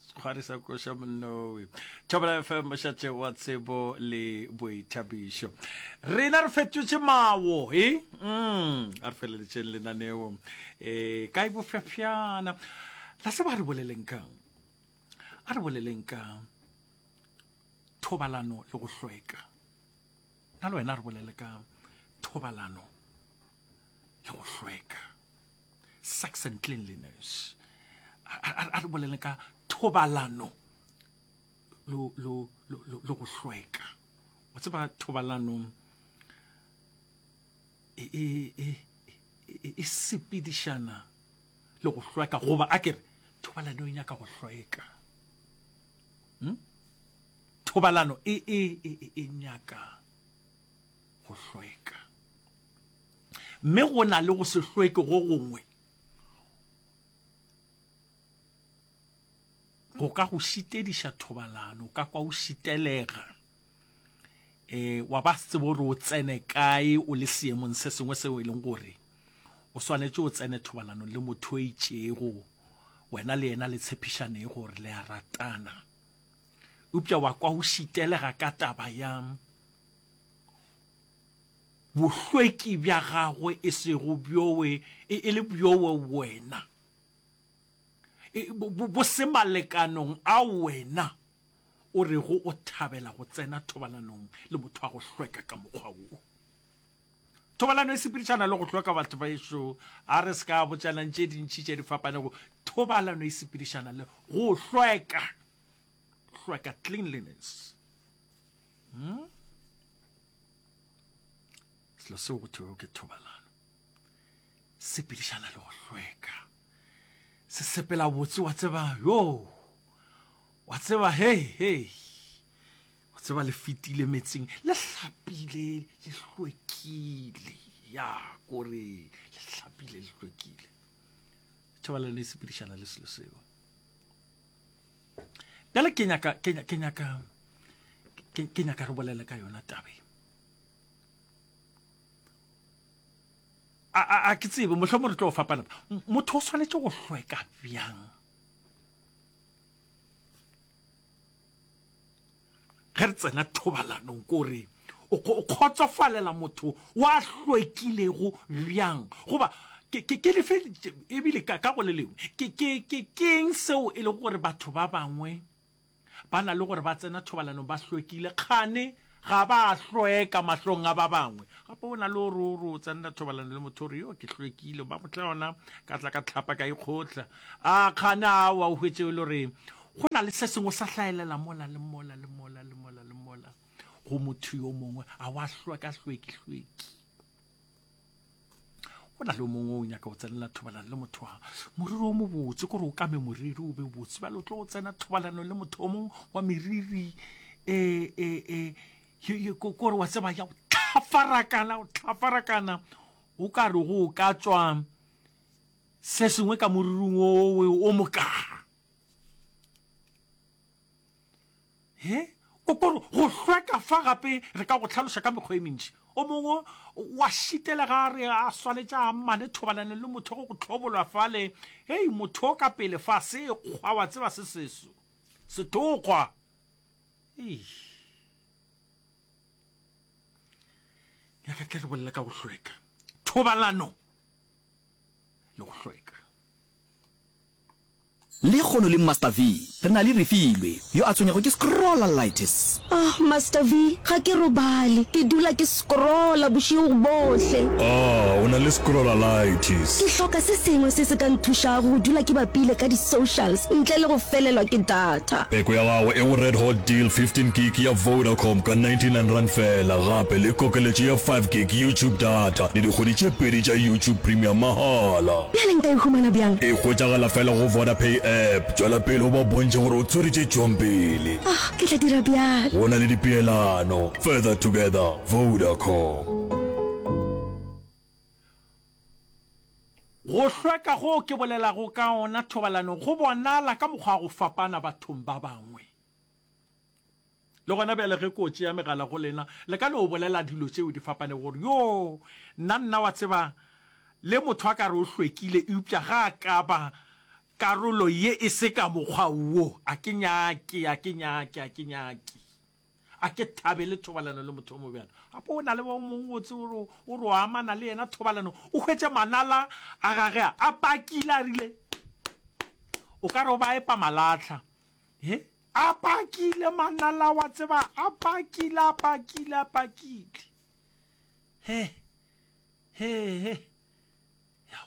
Sekgwari sa koša monnowe. Thobela FM mošate wa tsebo le boithabišo. Rena re fetotše mawo, e? Mm, a re feleletšeng lenaneo. E, kae bofefjana. La se ba re boleleng kang? A re boleleng ka thobalano le go hlweka. Nna le wena re bolele ka thobalano le go hlweka. Sex and cleanliness. A re bolele ka thobalano lo lo lo lo go hlweka. Wa tseba thobalano e e e e, e sepedišana le go hlweka goba a kere thobalano e nyaka go hlweka. Hmm? Thobalano e e e e nyaka go hlweka. Mme go na le go se hlweke go gongwe go ka go šitediša thobalano, o ka kwa o šitelega, um wa ba se tsebe gore o tsene kae o le seemong se sengwe seo e leng gore o swanetše o tsene thobalanong le motho o itšego, wena le yena le tshepišanego gore le a ratana, eupša wa kwa o šitelega ka taba ya bohlweki bja gagwe e sego bjowe e, e le bjowe wena e, bo, bo se malekanong a wena o rego o thabela go tsena thobalanong le motho wa go hlweka ka mokgwa wo. Thobalano e sepedišana le go hlweka batho ba ešo, a re se ka botšanang tše dintši tše di fapanego. Thobalano e sepedišana le go hlweka, hlweka, cleanliness. Hmm? Selo seo go thwego ke thobalano sepedišana le go hlweka, se sepela botse wa tseba yo wa tseba hei hei wa tseba le fetile metseng le hlapile le hlwekile ya kore le hlapile le hlwekile. Thobalano e sepedišana le selo seo. Bjale ke nyaka ke nyaka ke nyaka ke nyaka re bolele ka yona tabe. A a a ke tsebe mohlomong re tlo fapana. Motho o swanetše go hlweka bjang? Ge re tsena thobalanong kore o kgotsofalela motho wa hlwekilego bjang? Goba ke ke ke lefe ebile ka ka go le lengwe ke ke ke keng seo e lego gore batho ba bangwe ba na le gore ba tsena thobalanong ba hlwekile kgane ga ba hlweka mahlong a ba bangwe? Gape o na le gore o re o tsenela thobalano le motho o re yo ke hlwekile ba motla yona ka tla ka tlhapa ka ikgotla a kgane awa o hwetše e le gore go na le se sengwe sa hlaelela mola le mola le mola le mola le mola go motho yo mongwe a wa hlweka hlweki hlweki. Go na le o mongwe o nyaka go tsenela thobalano le motho wa moriri o mobotse, kore o kame moriri o be botse, bjale o tlo go tsena thobalano le motho o mongwe wa meriri e, e, e, kore wa tseba ya go tlhafarakana, go tlhafarakana o ka re go ka tswa se sengwe ka moriring owe o mokaa. He, o kore go hlweka fa gape re ka go hlaloša ka mekgwa e mentši. O mongwe wa šitela ga a re a swanetše a amane thobalano le motho go go hlobolwa fale. Hei, motho o ka pele fa se kgwa wa tseba se seso. Sethokgwa. Hei. Nyaka tle re bolela ka go hlweka. Thobalano le go hlweka. Lekgono le Master V, re na le Refilwe, yo a tshwenyago ke scrollalitis. Oh, Master V, ga ke robale. Ke dula ke scrolla bošego bohle. Ah, o na le scrollalitis. Ke hloka se sengwe se se ka nthušago go dula ke bapile ka di-socials ntle le go felelwa ke data. Peko ya gago e go Red Hot Deal 15 gig ya Vodacom ka R99 feela, gape le kokeletšo ya 5 gig YouTube data le dikgwedi tše pedi tša YouTube Premium mahala. Bjale nka e humana bjang? E hwetšagala fela go Vodapay app. Tšwela pele o ba bontšhe gore o tshwere tše tšwang pele. Ah, ke tla dira bjalo. Go na le dipeelano. Further together, Vodacom. Go hlweka goo ke bolelago ka ona thobalanong go bonala ka mokgwa wa go fapana bathong ba bangwe. Le gona bjale ge ko tšea megala go lena, le ka no bolela dilo tšeo di fapanego gore, Yoo, nna, nna wa tseba, Le motho a ka re o hlwekile, eupša ga a ka ba karolo ye e se ka mokgwa wo, a ke nyake, a ke nyake, a ke nyake. A ke thabele thobalano le motho o mobjalo. Gape o na le o mongwe o tse o re o re o amana le yena thobalano, o hwetše manala a gage a a pakile a rile o ka re o ba epa malahla. He? A pakile manala wa tseba, a pakile, a pakile, a pakile. He, he, he.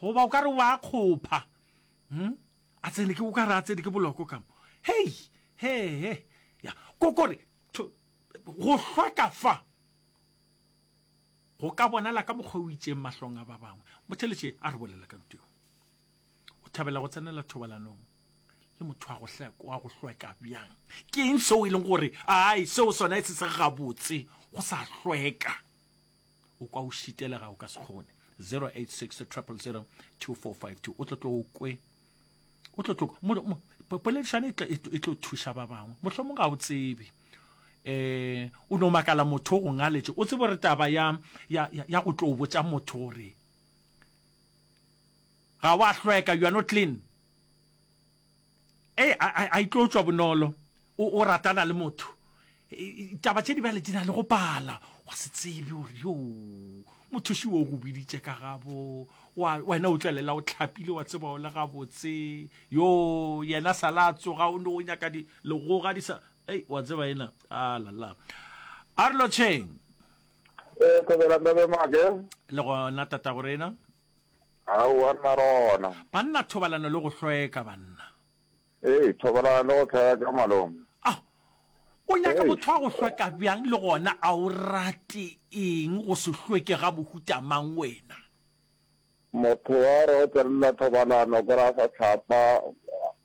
Goba o ka re wa kgopha. Hmm? A tsene ke o ka re a tsene ke boloko ka mo. Hei, he, he. Ya, kokore go hlweka fa go ka bonala ka mokgwa o itšeng mahlong a ba bangwe. Motheletše a re bolela ka ntho. O thabela go tsenela thobalanong le motho wa go hleka, wa go hlweka bjang? Ke eng seo e leng gore ai seo sona e se se gabotse go sa hlweka? O kwa o šitelega o ka se kgone. 086 000 2452 o tlo tlo o kwe o tlo tlo poledišano e tlo e tlo thuša ba bangwe mohlomong ga o tsebe eh o no makala motho o go ngaletše o tsebe gore taba ya ya ya go tlo botša motho gore Ga wa hlweka, you are not clean. Ei, a, a, a e tlo tšwa bonolo. O, o ratana le motho. Taba tše di bjale di na le go pala. Wa se tsebe gore yo mothuši o go biditše ka gabo. Wa, wena o tšwelela o hlapile wa tseba o le gabotse. Yo, yena sala a tsoga o no o nyaka di legoga di sa. Ei, wa tseba ena. A la la. A re lotšheng. Ee, thobela Ntabe Make. Le gona tatago rena. Aowa nna rona. Banna thobalano le go hlweka banna. Ee, thobalano le go hlweka malome. Ao, o nyaka motho wa go hlweka bjang le gona a o rate eng go se hlweke ga mohuta mang wena? Motho wa re o tsenela thobalano o kry-a sa hlapa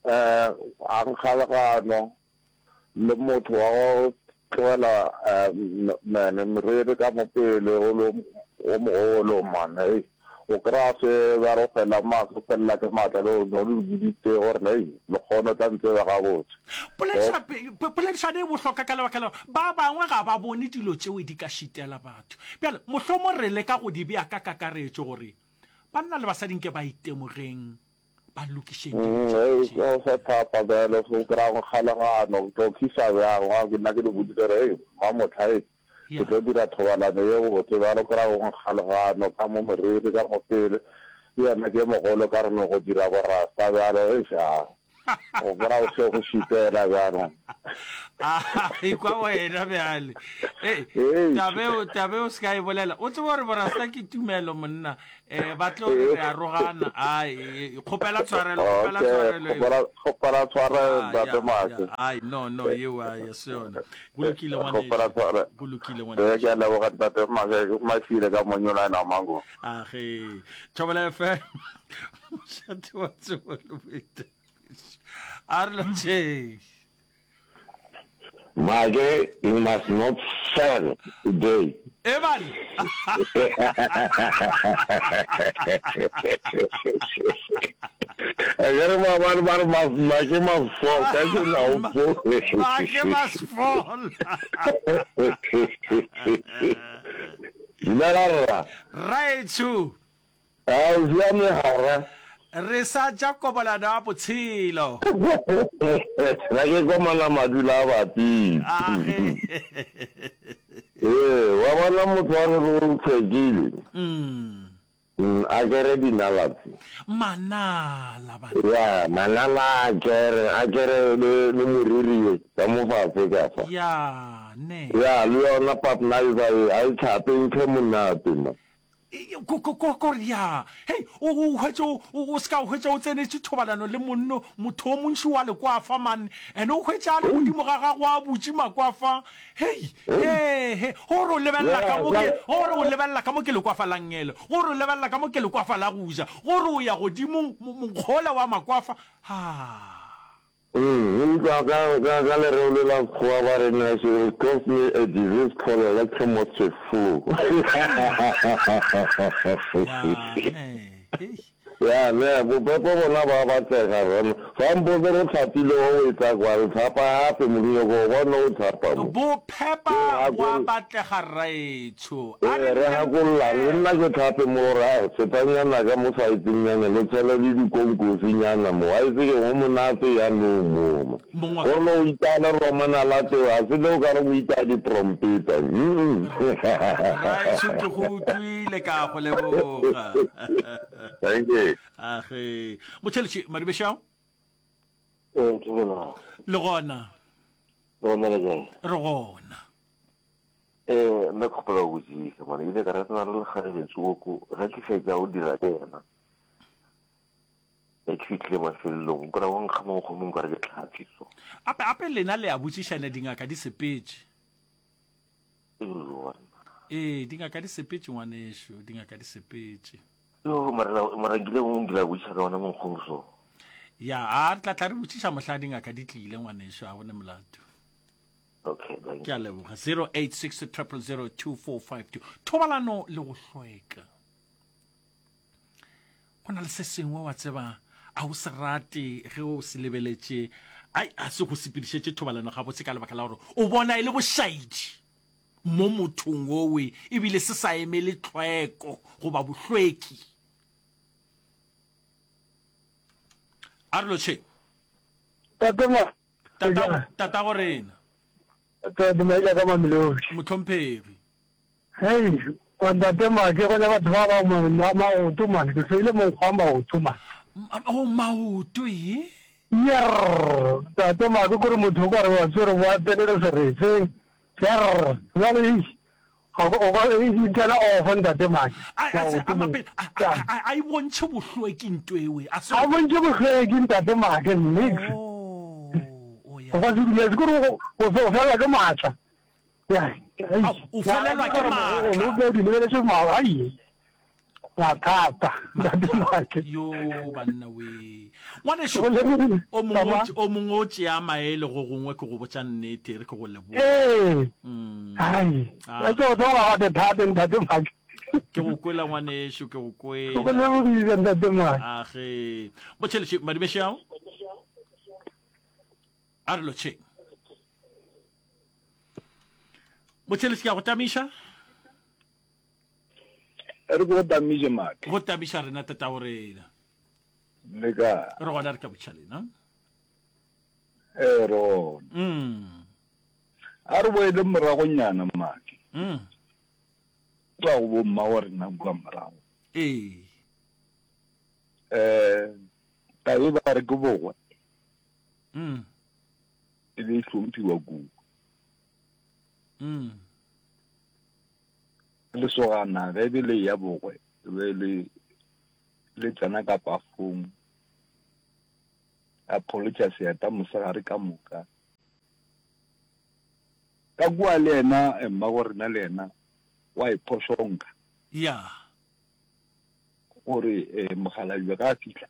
um a nkga legano. Le motho wa go tlogela mene meriri ka mo pele o le o mogolo man hei o kry-a se ba re o fela maatla o felela ke maatla le o le boditse gore hei le kgone o tla ntseba gabotse. Poledišano e bohlokwa ka lebaka la gore ba bangwe ga ba bone dilo tšeo di ka šitela batho. Bjale mohlomong re leka go di bea ka kakaretšo gore banna le basadi nke ba itemogeng ba lokišeng dilo tše Ge tše. o sa thapa bjalo o kry-a go kgalagano o tlo khisa bjang wa ke nna ke le boditse gore hei mamotlha hei ke tlo dira thobalano ye botse bjalo o kry-a go nkgalagano ka mo moriri ka mo pele le yena ke mogolo ka re no go dira borasta bjalo eish a o kry-a o se go šitela bjalo. A ekwa wena bjale. Ei, tabeo, tabeo se ka e bolela. O tsebe gore borasta ke tumelo monna. Eh, ba tlo re re arogana. Ai, kgopela tshwarelo, kgopela tshwarelo. Kgopela, kgopela tshwarelo, ah, ntate Make. Ai, no, no, yeo a ya se yona. Go lokile ngwanešu. Kgopela tshwarelo. Go lokile ngwanešu. Eh, ke a leboga ntate Make, mashile ka monyola ena mango. Ah, ge. Thobela FM. Mošate wa tsebo le boithabišo. A re lotšheng. Make, you must not sell today. Eban. Akere maabane ba re make must fall, kajeno ha o fall. Make must fall. Dumela rra. Rraetsho. A o siame gara? Re sa ja kobolano ya botshelo. Na ke komana madula a bapile. Ee, wa bona motho wa gore o hlwekile. A kere dinala tse. Manala banna. Ya, manala a kere, a kere le, le moriri ye ka mo fase ka fa. Ya, ne. Ya, le yona papnaiza ye, a e tlhape, ntho e monate man. Ko-ko-ko-ko ya. Hei, o, o hwetše o, o, o se ka hwetša o tsenetše thobalano le monno, motho o montši wa lekwafa, man. And o hwetša a le godimo ga gago a butše makwafa. Hei, he, he, gore o lebelela ka mo ke, gore o lebelela ka mo ke lekwafa la nngele, gore o lebelela ka mo ke lekwafa la go ja, gore o ya godimo mokgola wa makwafa. Ha. Utlwa ka, ka, ka lereo le la Sekgowa ba re na she will cause me a disease called electromotive flu. Ya, ne, hei. Ya ne, bophepa bona ba batlega rena. Fa mpotse re tlhapile o e tla kwa re tlhapa gape mo ke nyoko go bona o tlhapa mo. Bophepa bo a batlega rraetsho. A Ee, re re nne re gakololane. Le nna ke tlhape mo gore a fetanyana ka mo saetengnyana le tshele le dikonkosinyana mo. Wa itse ke go monate yanong mo mo. Mong wa ka. Gore le o itaya le romana la teo a se le o ka re o itaya ditrompeta. Mm. Rraetsho ke go utlwile ka go leboga. Thank you. Age. Motšheletše Madibešao. Ee, ke gona. Le gona. Le gona le kae? Re gona. Eh, nna kgopela go botšiša mane ile ka ratana le lekgarebe tsoko ge ke fetša go dira ke yena ge ke fihlile mafelelong o kry-a wa nkga monkgo mongwe ka re ke tlhapi so Ape ape lena le a botšišana dingaka di sepetše. Ee, dingaka di sepetše ngwanešu, dingaka di sepetše. Yo, mara mara nkile go nkile botšiša ka ona monkgong so. Ya, a re tla tla re botšiša mohla dingaka di tlile ngwanešu, a gone molato. Okay, thank Ke a leboga. 086 000 2452. Thobalano le go hlweka. Go na le se sengwe wa tseba a o se rate ge o se lebeletše ai a se go sepedišetše thobalano gabotse ka lebaka la gore o bona e le bošaedi mo mothong owe ebile se sa emele tlhweko goba bohlweki. A re lotšheng. Tate ma. Tata, tatago rena. Tate Maila ka Mamelodi. Mohlomphegi. Hei, wa ntate Make, go ne batho ba ba ma maoto man, ke hloile monkgo wa maoto man. Oh, maoto ye? Yerr, ntate Make, kore motho o ka re wa tswere wa tsenele seretseng. Yerr, bjale eish, ga o ka e tsena off ntate Make. A, a, a, a, a, a, a e bontšhe bohlweki nto ewe. A se. A bontšhe bohlweki ntate Make, nix. Oh, oh ya. O ka se dumele, kore o o felelwa ke maatla. O felelwa ke maatla. O di lebeletše maatla. Ai. Mathata. Yo banna we. Ngwanešu o mongwe o mongwe o tšea maele go gongwe ke go botša nnete re ke go leboga. Ee. Mm. Ai. Ah. Ke go tloga ga thate ntate Make. Ke go kwela ngwanešu ke go kwela. Go lebogile ntate Make. Age. Botšheletše madimešao. A re lotšheng. Motšheletši ke a go tamiša. Re go tamiše Make. Go tamiša rena tatago rena. Le ka. Re gona re ka botša lena. Ee re gona. Mm. A re boele moragonyana Make. Mm. Kwa go bomma wa rena kua morago. Ee. Eh, tabe ba re ke bogwe. Mm. E be e hlomphiwa kudu. Mm. Lesogana ge be le ya bogwe e be le le tsena ka pafong a pholotša seeta mosegare ka moka. Ka kua le yena eh, mmago rena le yena wa iphošonka. Ya. Gore eh, mokgalabje ga a fihla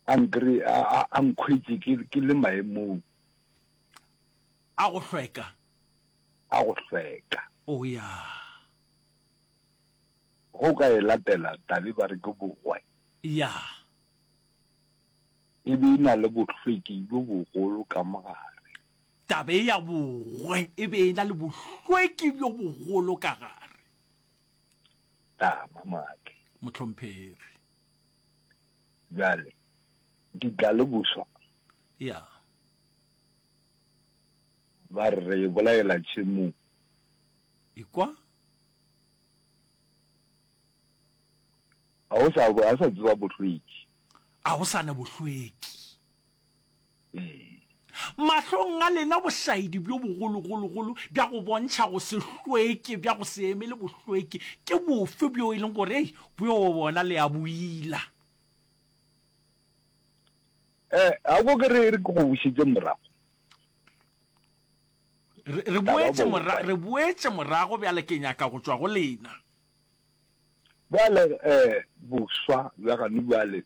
a nkry a a a nkhwetše ke ke le maemong. A go hlweka. A go hlweka. O ya. Go ka e latela tabe ba re ke bogwe. Ya. E be e na le bohlweki bjo bogolo ka mogare. Tabe ya bogwe e be e na le bohlweki bjo bogolo ka gare. Tama, Make. Mohlomphegi. Bjale, di tla le boswa. Ya. Ba re re e bolaela tšhemong. Ekwa. Ga o sa, ga o sa tseba bohlweki. A go sa na bohlweki. Ee. Mahlong a lena bošaedi bjo bogologologolo bja go bontšha go se hlweke, bja go se emele bohlweki, ke bofe bjo e leng gore, ei, bjo bona le a bo ila? Eh, a ko ke re re ke go bušetše morago. Re, re boetše mora, re boetše morago bjale ke nyaka go tšwa go lena. Bjale, eh, boswa bja gane bjale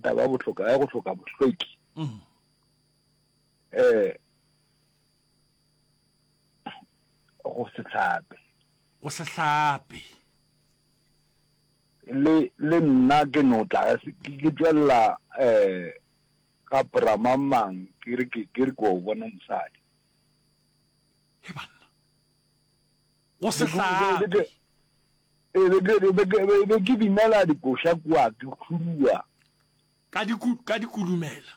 taba ya bohloka ya go hloka bohlweki mm. eh go se hlape go se hlape. Le le nna ke no tla ke tšwelela um ga bra mang mang ke re ke ke re ke o bona mosadi. He banna. Go se hlape. Be ke be ke be ke binela dikoša kua ke khurua. Ka di ka di kudumela.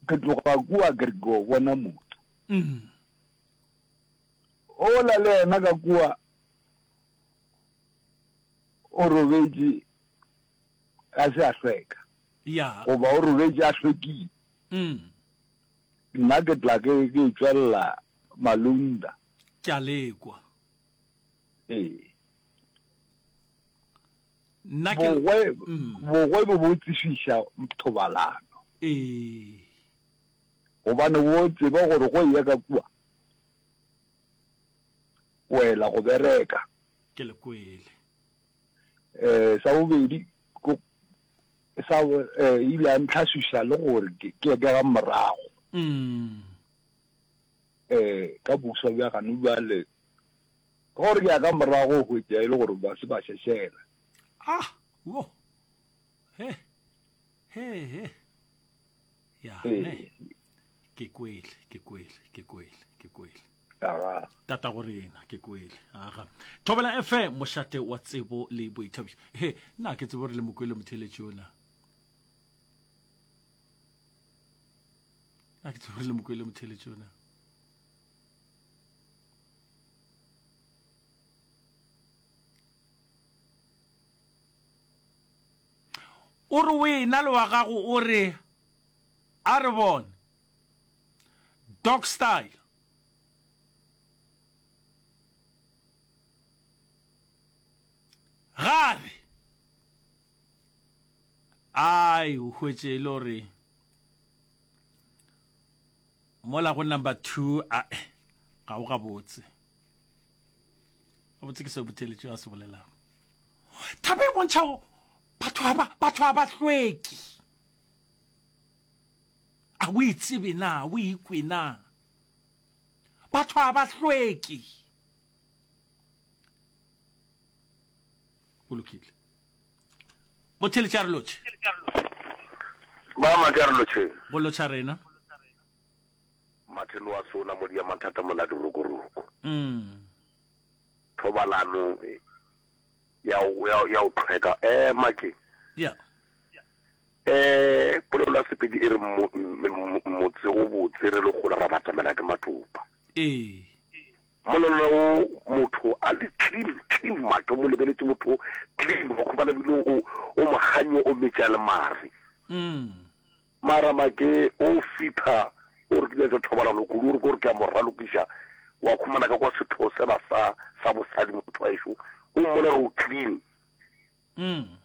Ke tloga kua ke re ke o bona motho. Mm. Ola le yena ka kua o robetše a se a hlweka. Ya. Goba o robetše a hlwekile. Mm. Nna ke tla ke ke tšwelela Malunda. Ke a lekwa. Ee. Nna ke Bogwe, mm. bogwe bo bo tsefiša thobalano. Ee. Gobane bo tseba gore go eya ka kua o ela go bereka. Ke le kwele. Eh, sa bobedi ko sa eh, ile a ntlhaswiša le gore ke ke ke ga morago. Mm. Eh, ka boswa bja gane bjale gore ke ya ka morago o hwetša e le gore ba se ba šešela. Ah, wo. He. He he. Ya, ne. Ke kwele, ke kwele, ke kwele, ke kwele. Aga. Tata go rena, ke kwele. Aga. Thobela FM, mošate wa tsebo le boithabišo. He, nna ke tsebo re le mokwele motheletši ona. Nna ke tsebo re le mokwele motheletši ona. O re o ena le wa gago o re a re bone dog style. Ga re ai o hwetše e le gore mola go number 2 a ga o gabotse. Gabotse ke se botheletšo a se bolelago. Taba e bontšhago batho ba batho ba ba hlweki. A o itsebe na, o ikwe na? Batho ba ba hlweki. Go lokile. Botheletša re lotšhe. Ba maka re lotšhe. Go lotšha rena. Mathelo a sona mo dia mathata mola dirokoroko. Mm. Thobalano ya ya ya o tlhweka eh make. Yeah. Eh polelo ya Sepedi e re motse o botse re le gola ra batamela ke matopa. Ee. Molelo o motho a le clean clean make mo lebeletse motho clean go khobana bile o o moganyo o metša le mare. Mm. Mara make o fitha o re ke nyaka thobalano kudu o re ke gore ke a mo ralokiša wa khumana ka kwa setho sela sa sa bosadi motho wa ešo o mmona gore o clean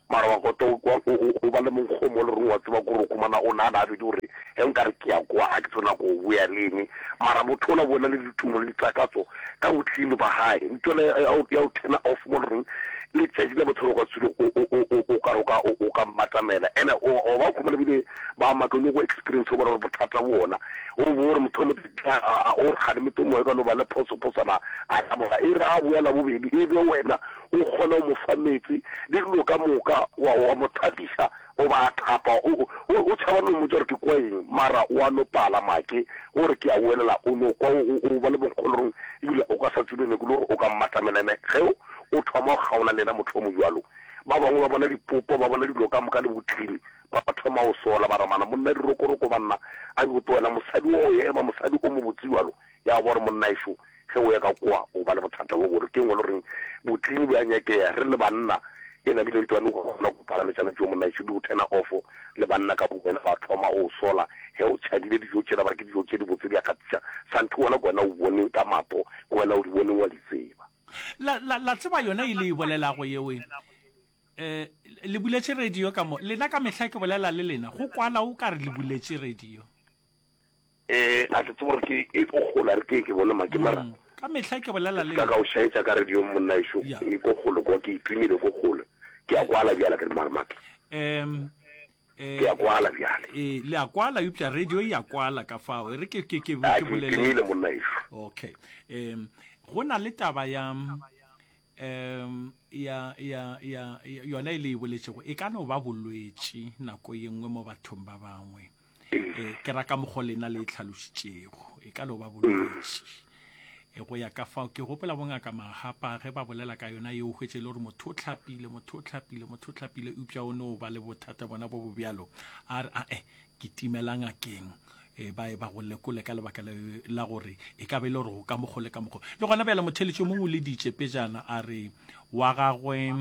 mara wa kota o ba le monkgo mo le reng wa tseba kore o khumana o nana a bedi gore ge nkare ke ya kwa a ke tsona go boya le eng mara motho ola bona le ditumo le ditakatso ka bo clean ba gae ntho ya o turn off mo le reng letšatši la botshelo ka tswile o ka o ka o ka mmatamela ene o ba khumana bile ba maka o go experience o bona gore bothata bona o bo gore motho mo o re gane motho mo ka no ba le phoso phosana a taboga e re a boya la bobedi e be wena o kgona go mo fa meetse le dilo ka moka wa wa mo thapiša o ba a thapa o o tšhaba no mmotsa gore ke kwa eng mara o a no pala make gore ke a boelela o no kwa o ba le bonkgolorong ebile o ka sa tsebe ne ke le gore o ka mmatamela ene ge o thoma go kgaola le yena motho o mojwalo ba bangwe ba bona dipopo ba bona dilo ka moka le botlini ba thoma go sola ba ramana monna dirokoroko banna a di wena mosadi o ema mosadi o mo botse jwalo ya bo gore monna ešo Ge o ya ka kwa, o ba le bothata bo gore ke ngwe le goreng botlini bo a nyakea. Re le banna, e namile ntwane go kgona go phalametšana tšeo monna ešo di go turna off le banna ka bowena ba thoma o sola ge o tšhabile dijo tšela ba re ke dijo tše dibotse di a kgatiša santhe wona ke wena o boneng ka mato ke wena o di boneng wa di tseba. La, la, la tseba yona e le e bolelago yeo e. Eh, le buletše radio ka mo. Lena ka mehla ke bolela le lena, go kwala o ka re le buletše radio. Eh, a ke tsebe gore ke e ko kgole a re ke ke bone make mara. Mm, ka mehla ke bolela le Ka ka o šaetša ka radio monna ešo Yeah. e ko kgole kwa ke itumile ko kgole. Ke a kwala bjale ke re mara make. Um, eh, Ke a kwala bjale. eh, le a kwala eupša radio e a kwala ka fao e re ke ke ke A ke ke bolele itumile monna ešo. okay um go na le taba ya. Um ya, ya, ya, yona e le e boletšego e ka no ba bolwetši nako ye nngwe mo bathong ba bangwe. E, ke ra ka mokgo lena le e tlhalošitšego, e ka no ba bolwetši. E, go ya ka fao ke gopola bongaka Mahapa ge ba bolela ka yona yeo, hwetše e le gore motho o hlapile, motho o hlapile, motho o hlapile, eupša o no ba le bothata bona bo bo bjalo. A re, ae, ke timela ngakeng e, ba e ba go lekole ka lebaka la gore e ka be e le gore go ka mokgo le ka mokgo. Le gona bjale motheletši o mongwe o leditše pejana a re wa gagwe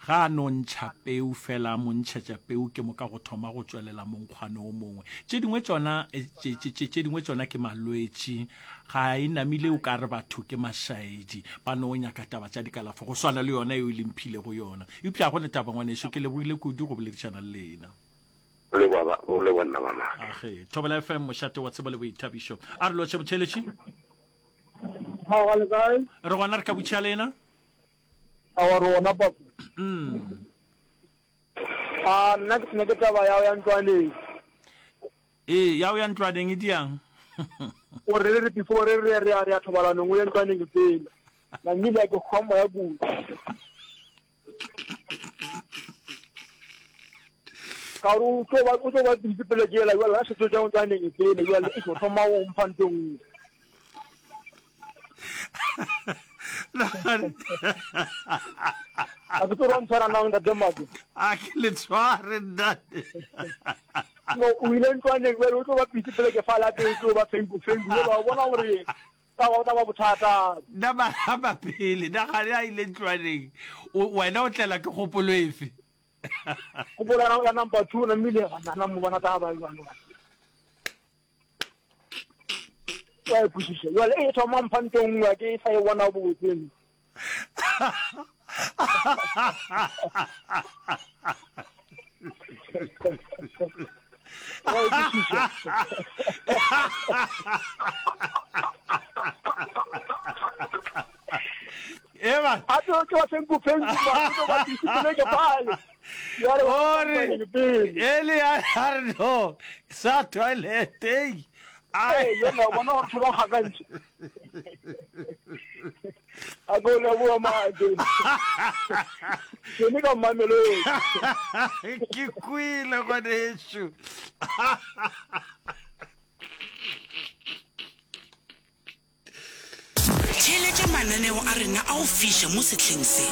ga a no ntšha peu fela a mo ntšhetša peu ke moka go thoma go tšwelela monkgwane o mongwe. Tše dingwe tšona e, tše dingwe tšona ke malwetši ga e namile o ka re batho ke mašaedi ba no nyaka taba tša dikalafo go swana le yona eo e lemphilego yona. Eupša ga go ne taba ngwaneso ke lebogile kudu go boledišana le lena. O leboga ba, o leboga nna ba maka. Age, Thobela FM, mošate wa tsebo le boithabišo. A re lotšhe botheletši. Aowa le kae? Re gona re ka butšha lena. Aowa re gona papa. Mm. A nna ke ne ke taba ya ya ntlwaneng. Ee, ya o ya ntlwaneng e diang. O re re before re re re ya thobalanong o ye ntlwaneng pele. Na nnile ke hwa moya kudu. Ka gore o tlo ba o tlo ba busy pele ke ela jwale ga setso tša ntlwaneng pele jwale e tlo thoma go mpha ntho nngwe. A ke tlo ra ntshwara nang ntate Mako. A ke le tshware ntate. No o ile ntlwaneng jwale o tlo ba busy pele ke fa lapeng tlo ba fenku fenku jwale wa bona gore Ka go tla ba bothata. Na ba pele, na gane a ile ntlwaneng, wena o tlela ke kgopolo efe? Kgopolo ya number 2 na mmile na mo bona taba jwang. Wa e kwešiša. Jwale e thoma mpha ntho nngwe ke sa e bona botse. Eba. A tlo ke wa senku fenku ba tlo ba disipele ke pale. Ore ele ya re no sa toilet ei. Ai yona bona go thoba gakantse. A ko leboa mate. Ke ne ka Mamelodi. Ke kwele ngwanešu. Theeletša mananeo a rena a go fiša mo sehleng se.